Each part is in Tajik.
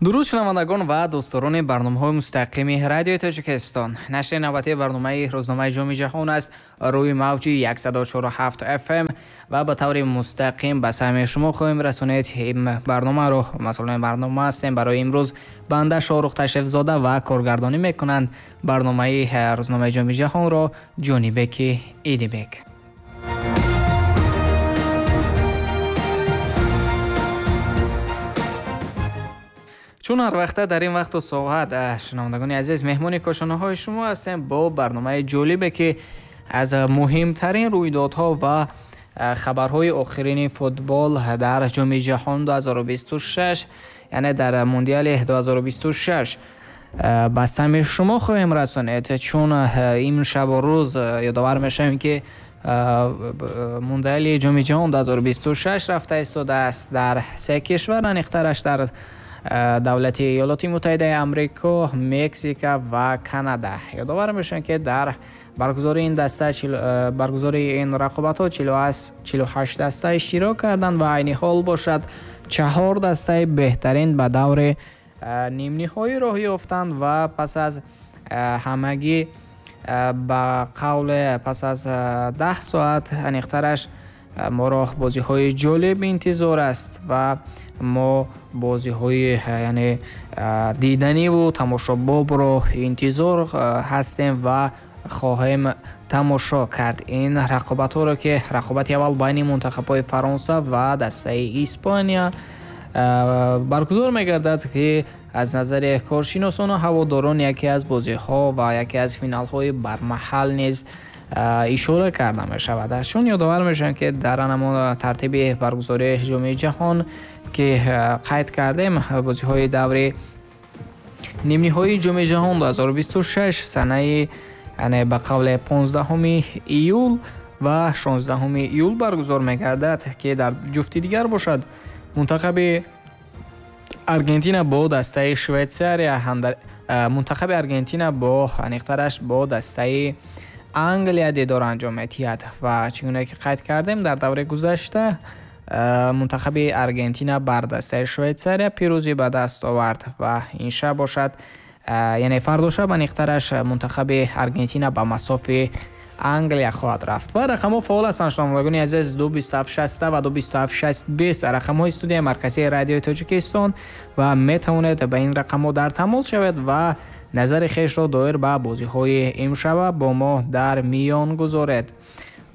Дуруд, шунавандагон ва дӯстдорони барномаҳои мустақими Радиои Тоҷикистон. Нашри навбатии барномаи рӯзномаи Ҷоми Ҷаҳон аст рӯи мавҷи 104,7 FM ва ба таври мустақим ба самъи шумо хоҳем расонид ин барномаро. Масъулони барнома ҳастем барои имрӯз банда Шоҳрух Ташрифзода ва коргардонӣ мекунанд барномаи рӯзномаи Ҷоми Ҷаҳонро Ҷонибеки Идибек. Чун ҳар вақта дар ин вақту соат, шунавандагони азиз, меҳмони кошонаҳои шумо ҳастем бо барномаи ҷолибе, ки аз муҳимтарин рӯйдодҳо ва хабарҳои охирини футбол дар Ҷоми Ҷаҳон 2026, яъне дар Мундиали 2026 ба самъи шумо хоҳем расонид. Чун ин шабу рӯз ёдовар мешавем, ки Мундиали Ҷоми Ҷаҳон 2026 рафта истодааст дар се кишвар, аниқтараш дар давлати Иёлоти Муттаҳидаи Амрико, Мексика ва Канада. Ёдовар мешавем, ки дар баргузории ин даста, баргузории ин рақобатҳо 48 даста иштирок карданд ва айни ҳол бошад 4 дастаи беҳтарин ба даври нимниҳоӣ роҳ ёфтанд ва пас аз ҳамагӣ, ба қавле, пас аз 10 соат аниқтараш моро бозиҳои ҷолиб интизор аст ва мо бозиҳои, яъне, диданиву тамошобобро интизор ҳастем ва хоҳем тамошо кард ин рақобатҳоро, ки рақобати аввал байни мунтахабҳои Фаронса ва дастаи Испания баргузор мегардад, ки аз назари коршиносону ҳаводорон яке аз бозиҳо ва яке аз финалҳои бармаҳал низ ишора карда мешавад. Чун ёдовар мешавем, ки дар ҳамон тартиби баргузории Ҷоми Ҷаҳон, ки қайд кардем, бозиҳои даври нимниҳоии Ҷоми Ҷаҳон 2026 санаи, яъне ба қавле, 15 июл ва 16 июл баргузор мегардад, ки дар ҷуфти дигар бошад мунтахаби Аргентина бо дастаи Швейтсария, мунтахаби Аргентина бо, аниқтараш, бо дастаи Англия дидор анҷом медиҳад. Ва чӣ гуна ки қайд кардем, дар даври гузашта мунтахаби Аргентина бар дастаи Швейтсария пирӯзӣ ба даст овард ва ин шаб бошад, яъне фардо шаб аниқтараш, мунтахаби Аргентина ба масофи Англия хоҳад рафт. Ва рақамҳо фаъол ҳастанд, шунавандагони азиз: 2 27 60 ва 2 27 6 20 рақамҳои студияи марказии Радиои Тоҷикистон ва метавонед ба ин рақамҳо дар тамос шавед ва назари хешро доир ба бозиҳои имшаба бо мо дар миён гузоред.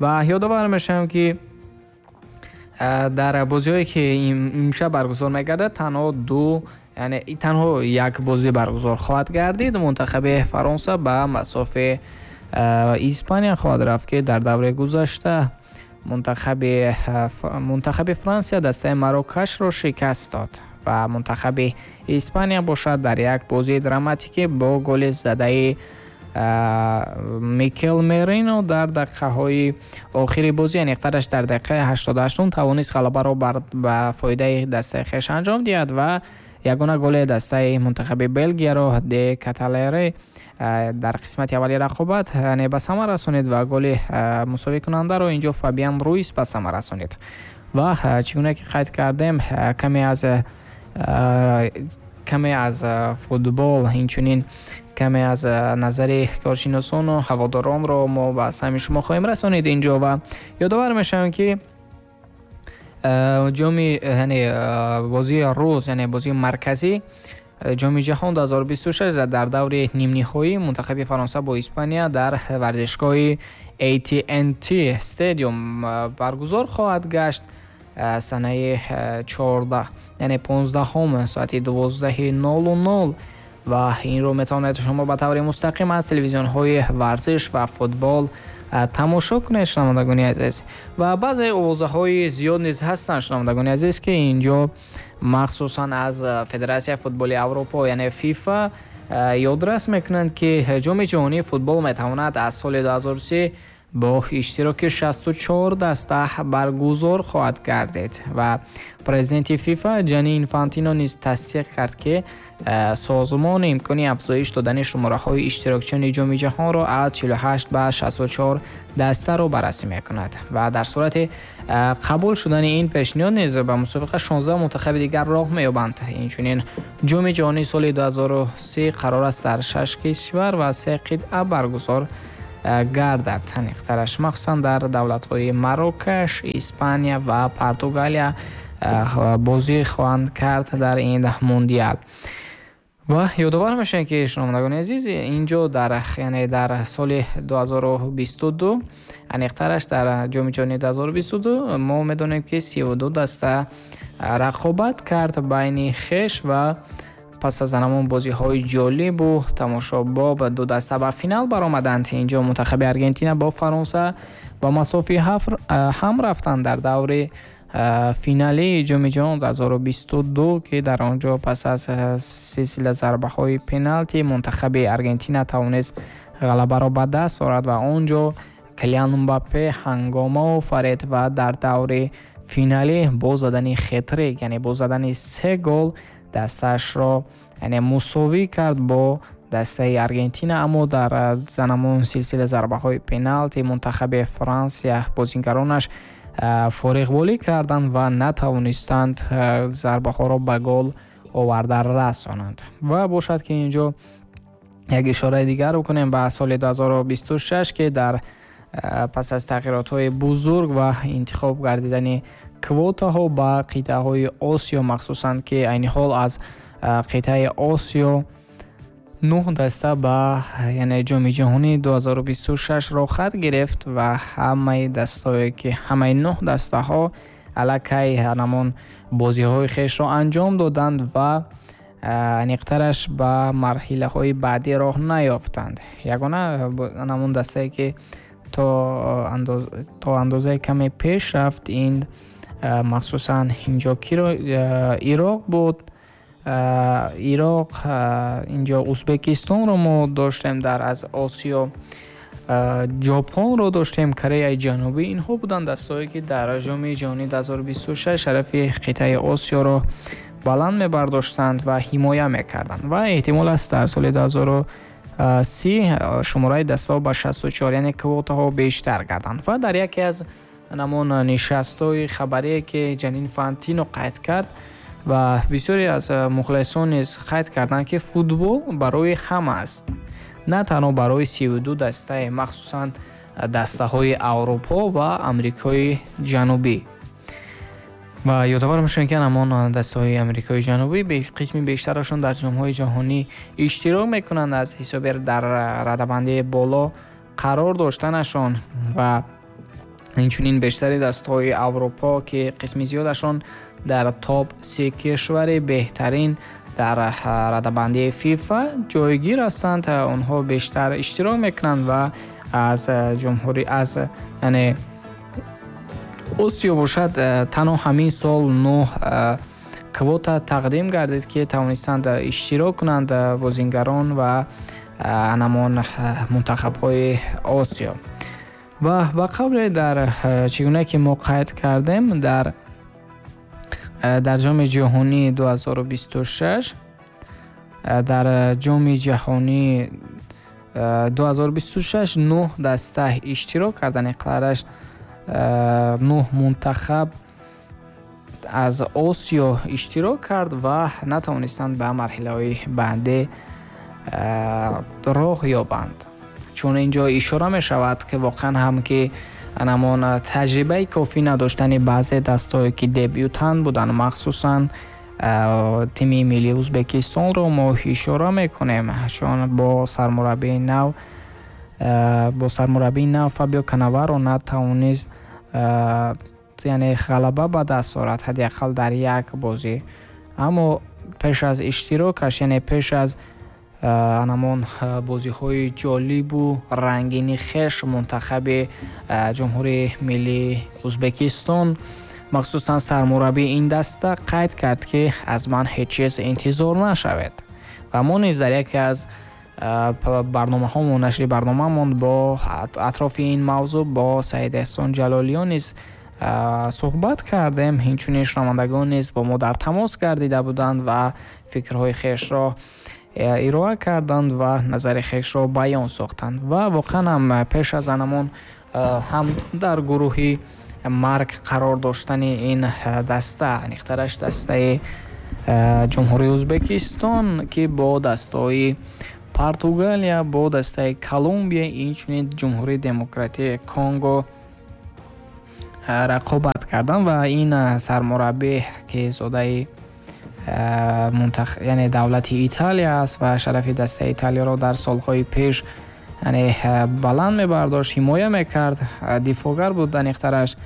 Ва ёдовар мешавем, ки дар бозиҳое, ки имшаб баргузор мегардад, танҳо ду, яъне танҳо як бозӣ баргузор хоҳад гардид. Мунтахаби Фаронса ба масофи Испания хоҳад рафт, ки дар давраи гузашта мунтахаби Франсия дастаи Марокашро шикаст дод ва мунтахаби Испания бошад дар як бозии драматикӣ бо голи задаи Микел Мерино дар дақиқаҳои охири бозӣ, аниқтараш дар дақиқаи 88-ум, тавонист ғалабаро ба фоидаи дастаи хеш анҷом диҳад ва ягона голи дастаи мунтахаби Белгияро Де Каталере дар қисмати аввали рақобат, яъне, ба самар расонид ва голи мусовикунандаро инҷо Фабиан Руис ба самар расонид. Ва чӣ гуна ки қайд кардем, каме аз футбол, инчунин каме аз назари коршиносону ҳаводоронро мо ба самъи шумо хоҳем расонид инҷо. Ва ёдовар мешавем, ки ҷоми, яъне бозии рӯз, яъне бозии марказӣ Ҷоми Ҷаҳон 2026 дар даври нимниҳоӣ мунтахаби Фаронса бо Испания дар варзишгоҳи AT&T Stadium баргузор хоҳад гашт санаи 14, яъне 15-ум, соати 12:00 ва инро метавонед шумо ба таври мустақим аз телевизионҳои варзиш ва футбол тамошо кунед, шунавандагони азиз. Ва баъзе овозаҳои зиёд низ ҳастанд, шунавандагони азиз, ки инҷо махсусан аз Федератсияи футболи Аврупо, яъне ФИФА, ёдрас мекунанд, ки Ҷоми Ҷаҳонии футбол метавонад аз соли 2030 Бо иштироки 64 даста баргузор хоҳад гардид ва президенти ФИФА Ҷани Инфантино низ тасдиқ кард, ки созмон имкони афзоиш додани шумораҳои иштирокчиёни Ҷоми ҷаҳонро аз 48 ба 64 дастаро баррасӣ мекунад ва дар сурати қабул шудани ин пешниҳод низ ба мусобиқа 16 мунтахаби дигар роҳ меёбанд. Инчунин Ҷоми ҷаҳонии соли 2030 қарор аст дар 6 кишвар ва 3 қитъа баргузор гардад. Аниқтараш, махсусан дар давлатҳои Марокаш, Испания ва Португалия бозӣ хоҳанд кард дар ин мундиал. Ва ёдовар мешавем, ки, шунавандагони азиз, инҷо дар, яъне дар соли 2022, аниқтараш дар Ҷоми ҷаҳонии 2022, мо медонем, ки 32 даста рақобат кард байни хеш ва пас аз ҳамон бозиҳои ҷолибу тамошобоб ду даста ба финал баромаданд. Инҷо мунтахаби Аргентина бо Фаронса ба масофи ҳафт ҳам рафтанд дар даври финалии Ҷоми ҷаҳон 2022, ки дар он ҷо пас аз силсила зарбаҳои пеналти мунтахаби Аргентина тавонист ғалабаро ба даст орад ва он ҷо Килиан Мбаппе ҳангома офарид ва дар даври финалӣ бо задани хетрик, яъне бо задани се гол, дастаашро, яъне, мусовӣ кард бо дастаи Аргентина. Аммо дар ҳамон силсила зарбаҳои пеналти мунтахаби Франсия бозингаронаш фориғболӣ карданд ва натавонистанд зарбаҳоро ба гол оварда расонанд. Ва бошад, ки инҷо як ишораи дигар бикунем ба соли 2026, ки дар пас аз тағйиротҳои бузург ва интихоб гардидани квотаҳо ба қитъаҳои Осиё, махсусан ки айни ҳол аз қитъаи Осиё нӯҳ даста ба, яъне, Ҷоми ҷаҳонии 2026 роҳхат гирифт ва ҳамаи дастаҳое ки ҳамаи нӯҳ дастаҳо аллакай ҳамон бозиҳои хешро анҷом доданд ва аниқтараш ба марҳилаҳои баъдӣ роҳ наёфтанд. Ягона ҳамон дастае, ки то андозаи каме пеш рафт, ин махсусан инҷо киро Ироқ буд. Ироқ, инҷо Узбекистонро мо доштем, дар аз Осиё Ҷопонро доштем, Кореяи Ҷанубӣ. Инҳо буданд дастаҳое, ки дар Ҷоми ҷаҳонии 2026 шарафи қитъаи Осиёро баланд мебардоштанд ва ҳимоя мекарданд. Ва эҳтимол аст, дар соли 2030 шумораи дастаҳо ба 64, яъне квотаҳо бештар гарданд. Ва дар яке аз ҳамон нишастҳои хабарие, ки Ҷани Инфантино қайд кард ва бисёре аз мухлисон низ қайд карданд, ки футбол барои ҳама аст, на танҳо барои 32 дастаи, махсусан дастаҳои Аврупо ва Амрикои Ҷанубӣ. Ва ёдовар мешавем, ки ҳамон дастаҳои Амрикои Ҷанубӣ қисми бештарашон дар ҷомҳои ҷаҳонӣ иштирок мекунанд аз ҳисоби дар радабандии боло қарор доштанашон. Ва инчунин бештари дастаҳои Аврупо, ки қисми зиёдашон дар топ се кишвари беҳтарин дар радабандии ФИФА ҷойгир ҳастанд, онҳо бештар иштирок мекунанд. Ва аз ҷумҳури аз, яъне, Осиё бошад, танҳо ҳамин сол нӯҳ квота тақдим гардид, ки тавонистанд иштирок кунанд бозингарон ва ҳамон мунтахабҳои Осиё. Ва ба қавле дар чӣ гуна ки мо қайд кардем, дар Ҷоми ҷаҳонии 2026, дар Ҷоми ҷаҳонии 2026 нӯҳ даста иштирок карданд, иқрараш нӯҳ мунтахаб аз Осиё иштирок кард ва натавонистанд ба марҳилаҳои баъдӣ роҳ ёбанд, чун инҷо ишора мешавад, ки воқеан ҳам ки ҳамон таҷрибаи кофӣ надоштани баъзе дастаҳое, ки дебютант буданд, махсусан тими миллии Узбекистонро мо ишора мекунем, чун бо сармураббии нав Фабио Канаваро натавонист, яъне, ғалаба ба даст орад ҳадди ақал дар як бозӣ. Аммо пеш аз иштирокаш, яъне пеш аз ҳамон бозиҳои ҷолибу рангини хеш, мунтахаби Ҷумҳурии Миллии Узбекистон, махсусан сармураббии ин даста қайд кард, ки аз ман ҳеҷ чиз интизор нашавед. Ва мо низ дар яке аз Барномаҳомон, нашри барномаамон бо атрофи ин мавзӯъ бо Саид Эҳсон Ҷалолиён низ суҳбат кардем. Инчунин шунавандагон низ бо мо дар тамос гардида буданд ва фикрҳои хешро ироа карданд ва назари хешро баён сохтанд. Ва воқеан ҳам пеш аз анамон ҳам дар гурӯҳи марг қарор доштани ин даста, аниқтараш дастаи Ҷумҳурии Ӯзбекистон, ки бо дастаҳои Португалия, бо дастаи Колумбия, инчунин Ҷумҳурии Демократии Конго рақобат карданд. Ва ин сармураббӣ, ки зодаи яъне давлати Италия аст ва шарафи дастаи Италияро дар солҳои пеш, яъне, баланд мебардошт, ҳимоя мекард, дифоъгар буд аниқтараш.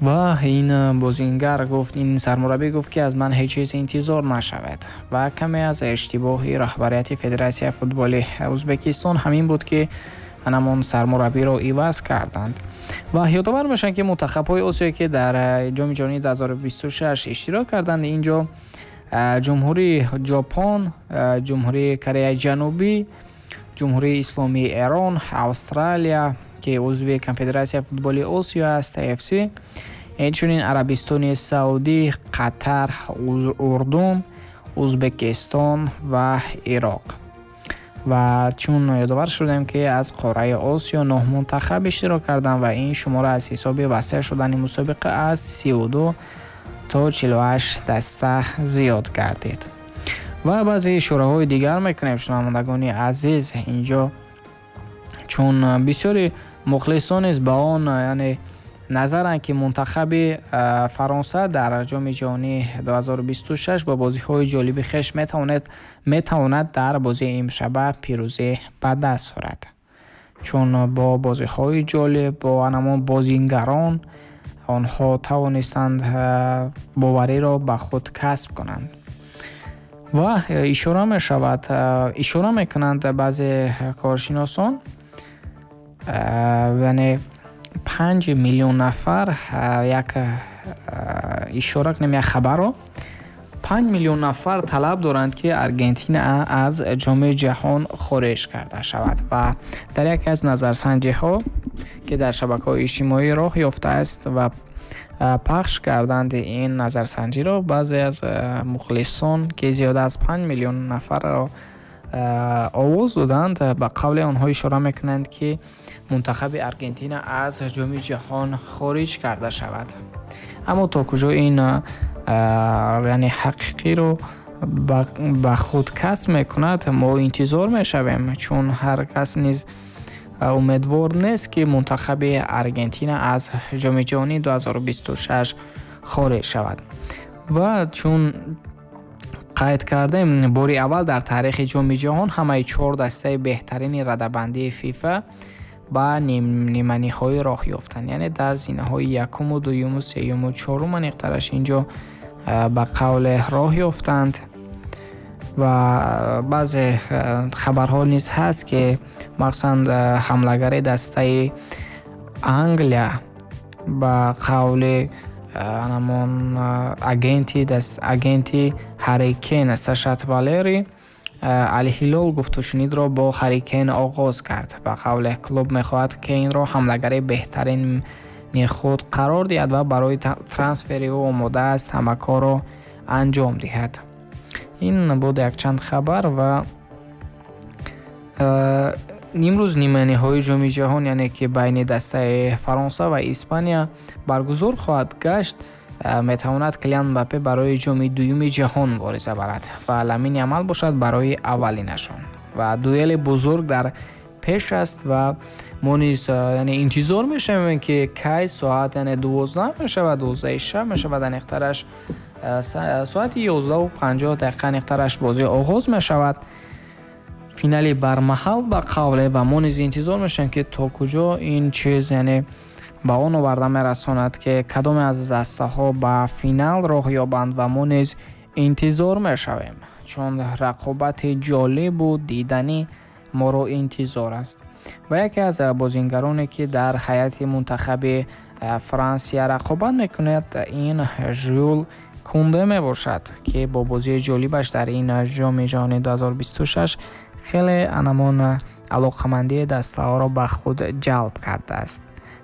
Ва ин бозингар гуфт, ин сармураббӣ гуфт, ки аз ман ҳеҷ чиз интизор нашавад. Ва каме аз иштибоҳи раҳбарияти Федератсияи футболи Ӯзбекистон ҳамин буд, ки анамон сармураббиро иваз карданд. Ва ёдовар мешаванд, ки мунтахабҳои Осиё, ки дар Ҷоми ҷаҳонии 2026 иштирок карданд, инҷо Ҷумҳурии Ҷопон, Ҷумҳурии Кореяи Ҷанубӣ, Ҷумҳурии Исломии Эрон, Австралия, ки узви Конфедератсияи футболи Осиё аст, AFC, инчунин Арабистони Саудӣ, Қатар, Урдун, Ӯзбекистон ва Ироқ. Ва чун ёдовар шудем, ки аз қораи Осиё 9 мунтахаб иштирок карданд ва ин шумора аз ҳисоби васеъ шудани мусобиқа аз 32 то 48 даста зиёд гардид. Ва баъзе ишораҳои дигар мекунем, шунавандагони азиз. Инҷо чун бисёри мухлисон низ ба он, яъне, назаранд, ки мунтахаби Фаронса дар Ҷоми ҷаҳонии 2026 бо бозиҳои ҷолиби хеш метавонад дар бозии имшаба пирӯзӣ ба даст орад, чун бо бозиҳои ҷолиб, бо анамон бозингарон онҳо тавонистанд бовариро ба худ касб кунанд. Ва ишора мешавад, ишора мекунанд баъзе коршиносон, яъне 5 миллион нафар, як ишора кунем як хабарро, 5 миллион нафар талаб доранд, ки Аргентина аз Ҷоми ҷаҳон хориҷ карда шавад. Ва дар яке аз назарсанҷиҳо, ки дар шабакаҳои иҷтимоӣ роҳ ёфтааст ва пахш карданд ин назарсанҷиро, баъзе аз мухлисон, ки зиёда аз 5 миллион нафарро овоз доданд, ба қавли онҳо ишора мекунанд, ки мунтахаби Аргентина аз Ҷоми ҷаҳон хориҷ карда шавад. Аммо то куҷо ин, яъне, ҳақиқиро ба худ касб мекунад, мо интизор мешавем, чун ҳар кас низ умедвор нест, ки мунтахаби Аргентина аз Ҷоми ҷаҳонии 2026 хориҷ шавад. Ва чун қайд кардем, бори аввал дар таърихи Ҷоми ҷаҳон ҳамаи чор дастаи беҳтарини радабандии ФИФА ба ниманиҳоӣ роҳ ёфтанд, яъне дар зинаҳои якуму дуюму сеюму чорум аниқтараш инҷо ба қавле роҳ ёфтанд. Ва баъзе хабарҳо низ ҳаст, ки махсусан ҳамлагари дастаи Англия, ба қавли анамон агенти Ҳарри Кен Сашат Валери, Алҳилол гуфтушунидро бо Ҳарри Кен оғоз кард. Ба қавле, клуб мехоҳад Кейнро ҳамлагари беҳтарини худ қарор диҳад ва барои трансфери ӯ омода аст ҳама корро анҷом диҳад. Ин буд якчанд хабар. Ва имрӯз ниманиҳои Ҷоми ҷаҳон, яъне ки байни дастаи Фаронса ва Испания баргузор хоҳад гашт. Метавонад Килиан Мбаппе барои ҷоми дуюми ҷаҳон мубориза барад ва Ламин Ямал бошад барои аввалинашон. Ва дуэли бузург дар пеш аст ва мо низ, яъне, интизор мешавем, ки кай соат, яъне, 12 мешавад, 12-и шаб мешавад, аниқтараш соати 11:50 аниқтараш бозӣ оғоз мешавад, финали бармаҳал ба қавле. Ва мо низ интизор мешавем, ки то куҷо ин чиз, яъне, ба он оварда мерасонад, ки кадоме аз дастаҳо ба финал роҳ ёбанд. Ва мо низ интизор мешавем, чун рақобати ҷолибу диданӣ моро интизор аст. Ва яке аз бозингароне, ки дар ҳайати мунтахаби Франсия рақобат мекунад, ин Жюл Кунде мебошад, ки бо бозии ҷолибаш дар ин Ҷоми ҷаҳони 2026 Хеле анамон алоқамандии дастаҳоро ба худ ҷалб кардааст.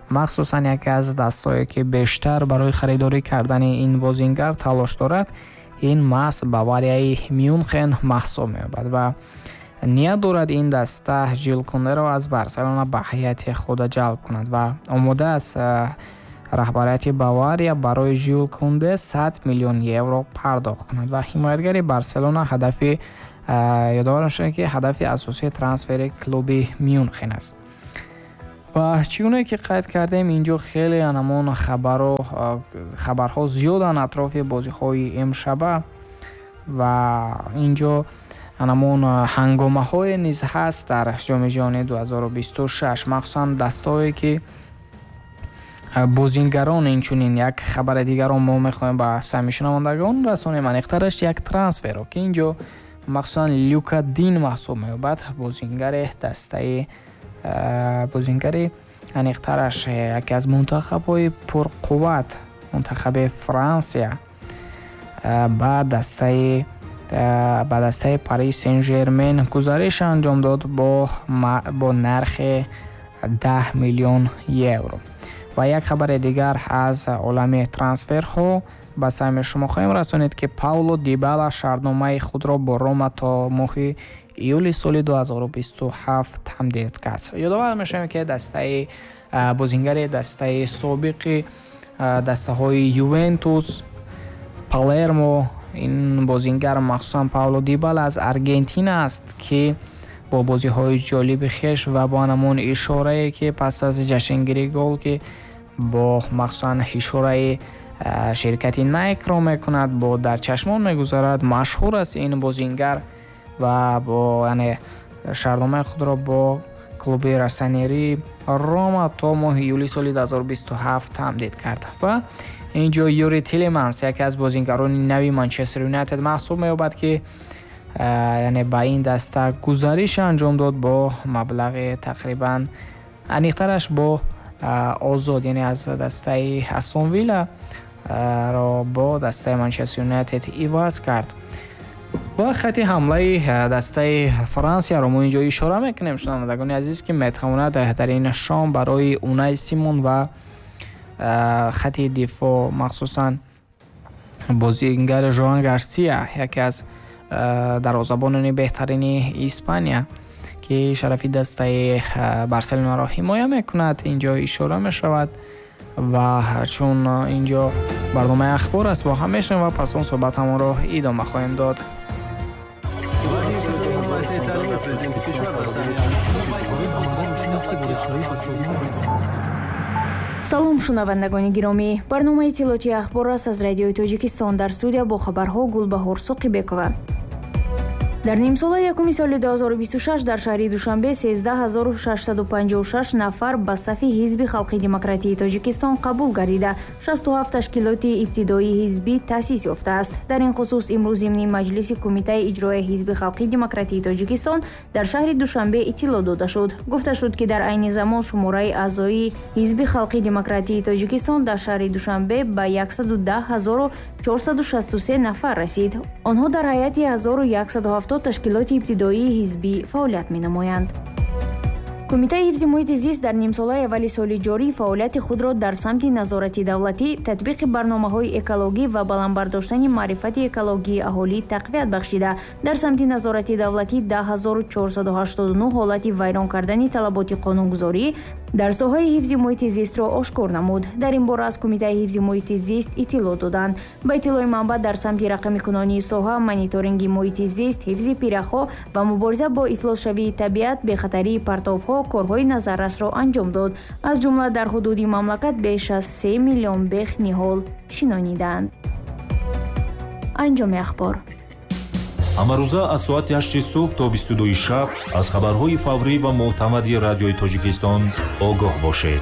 Махсусан яке аз дастҳое, ки бештар барои харидорӣ кардани ин бозингар талош дорад, ин маҳз Баварияи Мюнхен маҳсуб меёбад ва ният дорад ин даста Жил Кундеро аз Барселона ба ҳайати худ ҷалб кунад ва омода аст раҳбарияти Бавария барои Жил Кунде 100 миллион евро пардохт кунад. Ва ҳимоятгари Барселона ҳадафи, ёдовар мешавем, ки ҳадафи асосии трансфери клуби Мюнхен аст. Ва чӣ гуне ки қайд кардем, инҷо хеле анамон хабарҳо зиёданд атрофи бозиҳои имшаба ва инҷо анамон ҳангомаҳое низ ҳаст дар Ҷоми ҷаҳони 2026, махсусан дастаҳое ки бозингарон. Инчунин як хабари дигарро мо мехоҳем ба самъи шунавандагон расонем, аниқтараш як трансферро, ки инҷо махсусан Люка Дин маҳсуб меёбад, бозингари дастаи, бозингари аниқтараш яке аз мунтахабҳои пурқувват, мунтахаби Франсия, ба дастаи Париж Сен Жермен гузариш анҷом дод бо нархи 10 миллион евро. Ва як хабари дигар аз олами трансферҳо ба самъи шумо хоҳем расонид, ки Пауло Дибала шартномаи худро бо Рома то моҳи июли соли 2027 тамдид кард. Ёдовар мешавем, ки дастаи бозингари дастаи собиқи дастаҳои Ювентус, Палермо, ин бозингар махсусан Пауло Дибала аз Аргентина аст, ки бо бозиҳои ҷолиби хеш ва бо анамон ишорае, ки пас аз ҷашнгирии гол, ки бо махсусан ишораи ширкати Найкро мекунад, бо дар чашмон мегузарад, машҳур аст ин бозингар ва бо яъне шартномаи худро бо клуби россонери Рома то моҳи июли соли 2027 тамдид кард. Ва инҷо Юри Тилеманс яке аз бозингарони нави Манчестер Юнайтед маҳсуб меёбад, ки яъне ба ин даста гузариш анҷом дод бо маблағи тақрибан, аниқтараш бо озод, яъне аз дастаи Астон Вилла ро бо дастаи Манчестер Юнайтед иваз кард. Ва хати ҳамлаи дастаи Франсияро мо инҷо ишора мекунем, шунавандагони азиз, ки метавонад дар ин шом барои Унай Симон ва хати дифоъ, махсусан бозигари Жоан Гарсия, яке аз дарвозабонони беҳтарини Испания, ки шарафи дастаи Барселонаро ҳимоя мекунад, инҷо ишора мешавад. Ва чун инҷо барномаи ахбор аст, бо ҳам мешунавем ва пас он суҳбатамонро идома хоҳем дод. Салом, шунавандагони гиромӣ! Барномаи иттилоотии ахбор аст аз Радиои Тоҷикистон. Дар студия бо хабарҳо Гулбаҳор Соқибекова. Дар нимсолаи якуми соли 2026 дар шаҳри Душанбе 13656 нафар ба сафи Ҳизби халқи демократии Тоҷикистон қабул гардида, 67 ташкилоти ибтидоии ҳизбӣ таъсис ёфтааст. Дар ин хусус имрӯз зимни маҷлиси Кумитаи иҷроияи Ҳизби халқи демократии Тоҷикистон дар шаҳри Душанбе иттилоъ дода шуд. Гуфта шуд, ки дар айни замон шумораи аъзои Ҳизби халқи демократии Тоҷикистон дар шаҳри Душанбе ба 110463 нафар расид. Онҳо дар ҳайати 1170 ташкилоти ибтидоии ҳизбӣ фаъолият менамоянд. Кумитаи ҳифзи муҳити зист дар нимсолаи аввали соли ҷорӣ фаъолияти худро дар самти назорати давлатӣ, татбиқи барномаҳои экологӣ ва баланд бардоштани маърифати экологии аҳолӣ тақвият бахшида, дар самти назорати давлатӣ 10489 ҳолати вайрон кардани талаботи қонунгузорӣ дар соҳаи ҳифзи муҳити зистро ошкор намуд. Дар ин бора аз Кумитаи ҳифзи муҳити зист иттилоъ доданд. Ба иттилои манбаъ, дар самти рақамикунонии соҳа, мониторинги муҳити зист, ҳифзи пиряхҳо ва мубориза бо ифлосшавии табиат, бехатарии партовҳо корҳои назаррасро анҷом дод. Аз ҷумла дар ҳудуди мамлакат беш аз 3 миллион бех ниҳол шинонидаанд. Анҷоми ахбор. Ҳамарӯза аз соати 8 субҳ то 22 шаб аз хабарҳои фаврӣ ва мӯътамади Радиои Тоҷикистон огоҳ бошед.